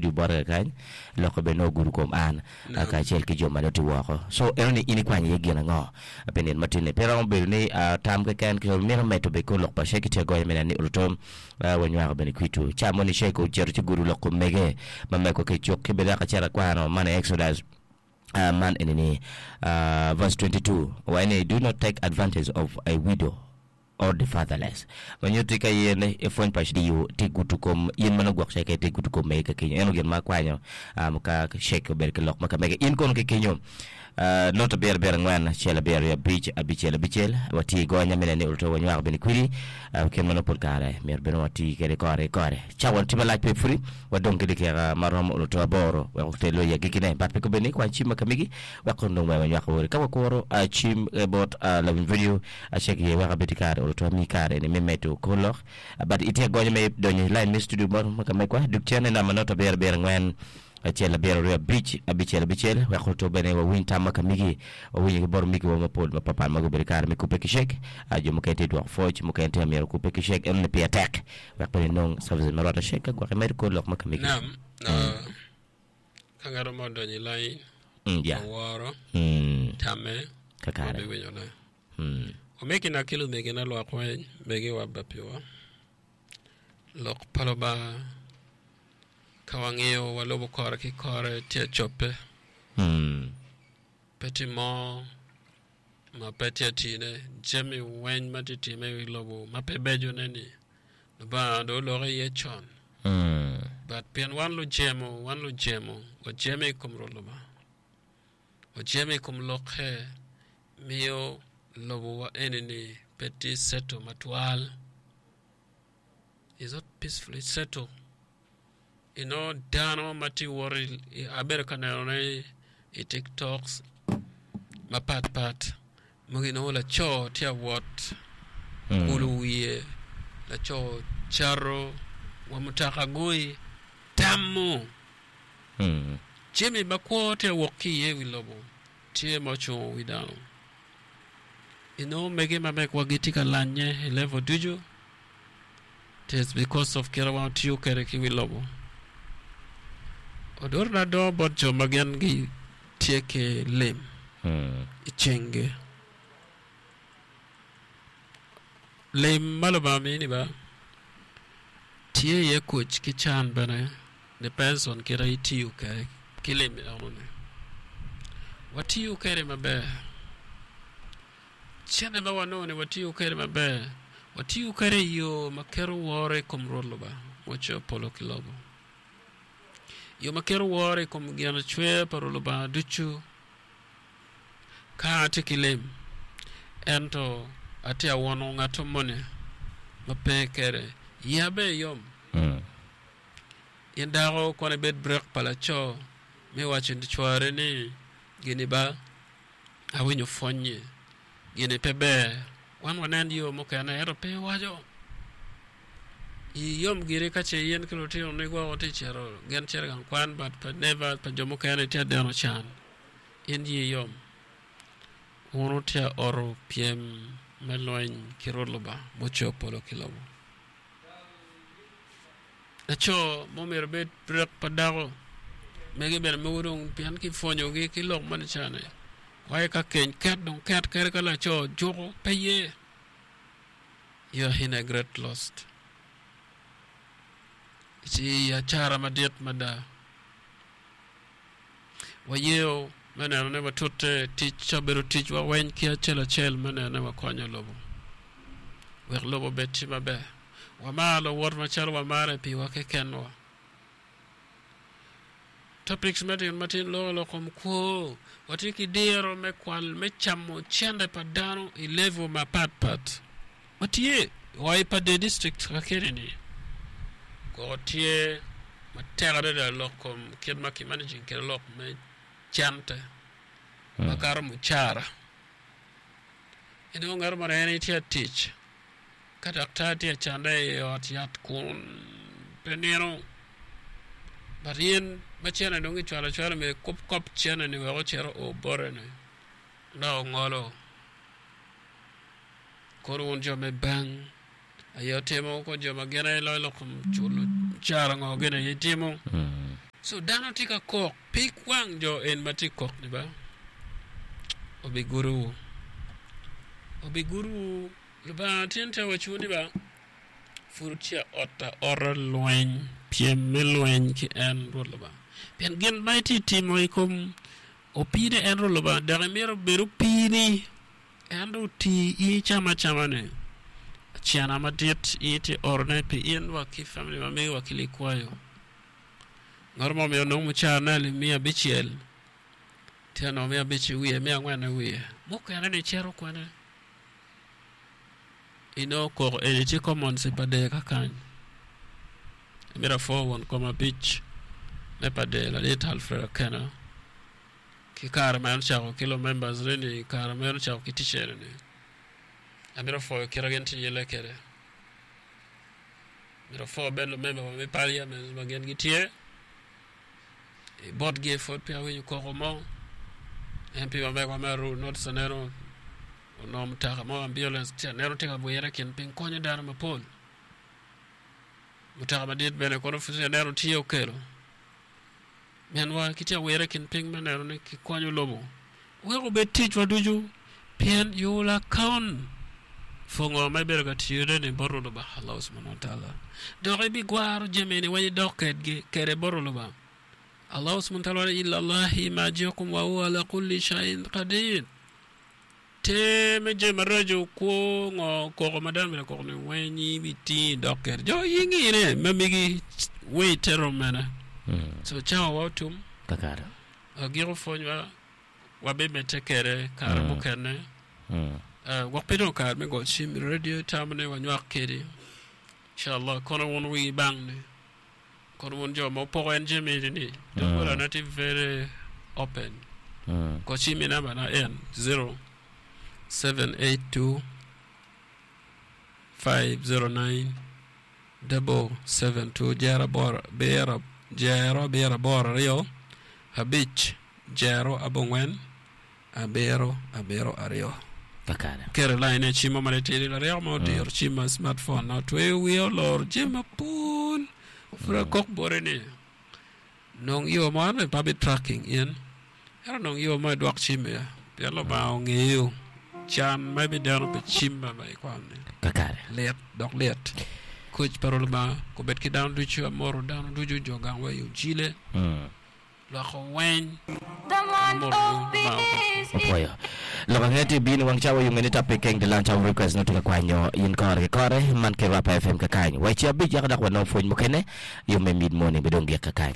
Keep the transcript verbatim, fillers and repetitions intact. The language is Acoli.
studio bote kany loko bene ogudo kom an kacel ki jo ma nongo tye woko so eno ni in ikwanyo iye gin ango pi nino matin-ni pe romo bedo ni tam keken mito medo bene kor lok pa Sheikh tye agonya me neno ni oruto wanywako bene kwitu ca moni Sheikh ocito ci gudo lok kom mege ma mego ki cuk ki bene dok acito akwano man i Exodus man eni ni verse twenty two waco ni do not take advantage of a widow or the fatherless ma nyutti ka in ipwony pa diyo tye gudo kom in ma nongo gwok ceke tye gudo kom mege ka kenyo eno gin ma akwanyo um, ka Sheikh obedo ki lok ma ka mege in kono ki kenyo uh, not abiro abiro angwen acel abiro aryo abic abicel abicel watye i gonya me neno ni oruto wanywako bene kwidi uh, kit ma nongo pol kare myero bene wati kwede kore ki kore cawa tye malac pe pudi wadong ki dakika ma romo oruto aboro wek otel i agikkine but pe kobed ni kwany cim ma ka megi wek kono dong wek wanywako wode ka wakuro uh, cim eh, bot uh, lawiny radio Acek iye wek abed ki kare olo twal miyi kare ni me medo kor lok. But itye agonya me donyo i line me studio bot ma ka megwa. Duk cen i namba not abiro abiro angwen acel abiro aryo abic abicel abicel wek olo bene wawiny tam ma ka migi. Wawinyo ki bot omigiwa mapol mapapat ma gubedo ki kare me kubbe ki cek. Jo mukene tye dwoko pwoc, mukene tye myero okubbe ki cek. Enoni pire tek wek bene inong services ma rwatte cek ka gwok imedo kor lok ma ka migi. Nam, ka ngat mo odonyo i line, Mm, yeah. oworo Mm, tamme, kakare. wabiwinyone. Omegina ki lumegina lwak weng megiwa bapiwa. Lok pa Lubanga ka wangiyo walubo kore ki kore tye cobbe. Pe tye mo ma pe tye tine. Jami weng ma tye time i wi lobo ma pe becone ni Lubanga dong oloko iye con. But pien wan lujemo, wan lujemo, wajemo i kom Rwot Lubanga. Wajemo i kom lokke. Miyo lobowa eni-ni pe tye settle matwal, is not peacefully settle. Inongo dano ma tye wot abedo ka nenone i tiktoks mapat pat mogo inongo laco tye awot kulo wiye laco cato wa mutoka gui tamo jami ma kwo tye awok ki iye i wi lobo. Tye ma ocungo wi dano. Inongo mege ma megwa gitye ka lanye i level ducu. It is because of kite ma watiyo kwede ki wi lobo. Odotona dongo bot jo ma gin gitye ki lim i cinggi. Lim ma Lubanga mini ba tye iye kuc ki can bene. Depends on kite itiyo kwede ki lim enoni. Watiyo kwede maber. Cente ma wanongo ni watiyo kwede maber, watiyo kwede i yo ma keto woro i kom Rwot Lubanga ma ocoyo polo ki lobo. Yo ma keto woro i kom gin acweya pa Rwot Lubanga ducu. Ka atye ki lim, ento atye awono ngat moni ma pe kwede, iya bene yom. In dako kono ibed brek pa laco me waco ni cware ni, Gini ba, awinyo pwony-nyi, gini pe ber, wan wanen yo mukene, ento pe iwaco. Ii yom giri ka ce in ki lutinoni gwok wutye cito, gin cito i gang kwan but pa neighbors pa jo mukene itye adeno can, in ii yom. Wun wutye aoto pyem me lweny ki Rwot Lubanga mucoyo polo ki lobo. Laco mo myero obed rek pa dako mege bene mogo dong pien kipwonyogi ki lok moni ca-ni waci ka keny ket dong ket kadi ka laco juko pe ye you are in a great lost ci i acara madit mada. Wayeo me neno ni watute tic ca obedo ticwa weng ki acel acel me neno ni wakonyo lobo wek lobo obed tye maber. Wamar luwot macalo wamare piwa kekenwa. Topics me tino matin loko lok kom kwo. Watye ki diro me kwal me camo cente pa dano i level mapat pat. Watye wa i Pader District ka keni-ni, koko tye matek adada lok kom kit ma ki managing kwede lok me cente makato mucara. Inongo ngat moni en tye ka tic ka daktar tye ka cande i ot yat kun pe nino but in ma cente dong kicwalo acwala myero ikub kop cente-ni wek ocit oo bote-ni dok ongolo. Kono wun jo me bang aye wutimo, kono jo ma gin aye loyo lok kom culo mucara ngo gin aye itimo. So dano tye ka kok pig wang jo en ma tye kok ni ba obigudowu obigudowu Lubanga tye te waco ni ba pud tye ot aota lweny pyem me lweny ki en Rwot Lubanga pien gin ma itye timo i kom opine en Rwot Lubanga dok imito bed opini en dong oti in icamo acama-ni cena madit in itye orone pi in wa ki family ma megi wa ki likwayo ngat mo myero onong mucarane alip miya abicel tye nongo miya abic i wiye miya angwen i wiye mukene ni cito kwene inongo koko eni tye commons i pader kakany imito apwo won kom abic me pader ladit Alfred Akena ki kare ma en ocako ki lumembers ne ni kare ma en ocako ki tic eni ni amito pwoyo kite gin tye yelle kwede mito apwo bene lumemba wa me parliament ma gin gitye i botgi pud peya awinyo koko mo M P ma megwa me Aruu North aneno onongo mutoka mo ambulance tye aneno tye ka wire i kin piny konyo dano mapol mutoka madit bene kono pud aneno tye okelo minwa gitye ka wire i kin piny me neno ni kikonyo lobo wek obed ticwa ducu pien you will account for ngo ma ibedo ka tiyone ni bot Rwot Lubanga Allah subhanahu wa ta'ala dok ibigwaro jami-ni weng idok kedgi kede bot Rwot Lubanga Allah subhanahu wa ta'ala ila Allahi marji'ukum wa huwa ala kulli shay'in qadir te me jami maraco kwo ngo koko ma dano bedo koko ni weng ibitingo idok kede jo in ingine ma megi weight rom mene so cawa wa otum kakare agiko pwonywa wabimedde kede kare Mm. mukene Mm. Uh, gwok pe dong kare me go cim i radio tamo ni wanywak kedi inshallah kono wun wigi bang ni kono wun jo ma opoko en jami eni ni doggola tye very open Mm. go cim i namba na en zero seven eight two five zero nine double seven two jero aboro abiro jero abiro aboro aryo abic jero abongwen abiro abiro aryo kakare kere line e cimo ma titidi laryeko ma odiro cim ma smartphone na otweyo wiye oloro jami mapol pud akok bote ni nong yo mo an bene pe abi tracking in ento nong yo mo idwok cim iye pien Lubanga ongeyo can ma ibideno pi cim ma ma ikwano-ni kakare lit dok lit koc pa Lubanga kobed ki dano ducu amoro dano ducu jo gang wa i Ojile Mm. lwako weny The man amoro of Lubanga peace opwoyo lok ange ti bino wang cawa yunge ni topic keng the lunch hour request no tye ka kwanyo in kore ki kore man ki Rapa F M kakany weci abic yaka dok wanong pwony mukene yo me mid morning bidong gik kakany.